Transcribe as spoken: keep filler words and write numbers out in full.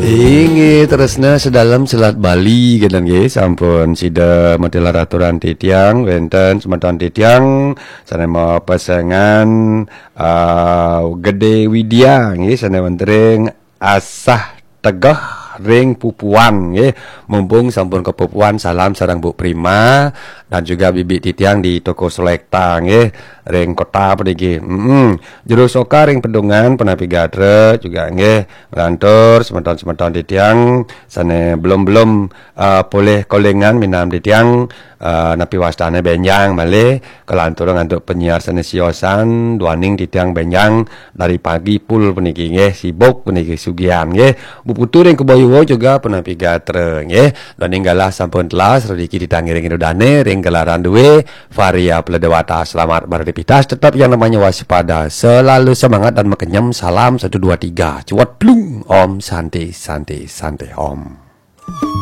Inggih tresna sedalem selat Bali, genten nggih, sampun sida matelar aturan titiang, wenten semeton titiang sane mapesengan uh, Gede Widya nggih, sane wenten ring Asah Tegeh ring Pupuan nggih. Mumpung sampun kepupuan, salam sareng Bu Prima dan juga bibi titiang di toko selekta nggih, ring kota puniki. Mm-mm. Jero Soka ring Pedungan, punapi gatra juga nggih, nglantur semeton-semeton titiang sane belum-belum uh, polih kolingan minam titiang, uh, napi wastane benjang malih, kalantur antuk penyiar sane siosan, duaning titiang benjang dari pagi pul puniki nggih, sibuk puniki sugihan nggih. Bu Putu ring Kebon Yuwa juga punapi gatra nggih. Duaning galah sampun telas, rejeki titiang ngiring ida dane ring gelaran due, Varia Pledewata. Selamat beraktivitas, tetap yang namanya waspada, selalu semangat dan makenyem. Salam satu dua tiga. Cuat plung. Om Santi, Santi, Santi Om.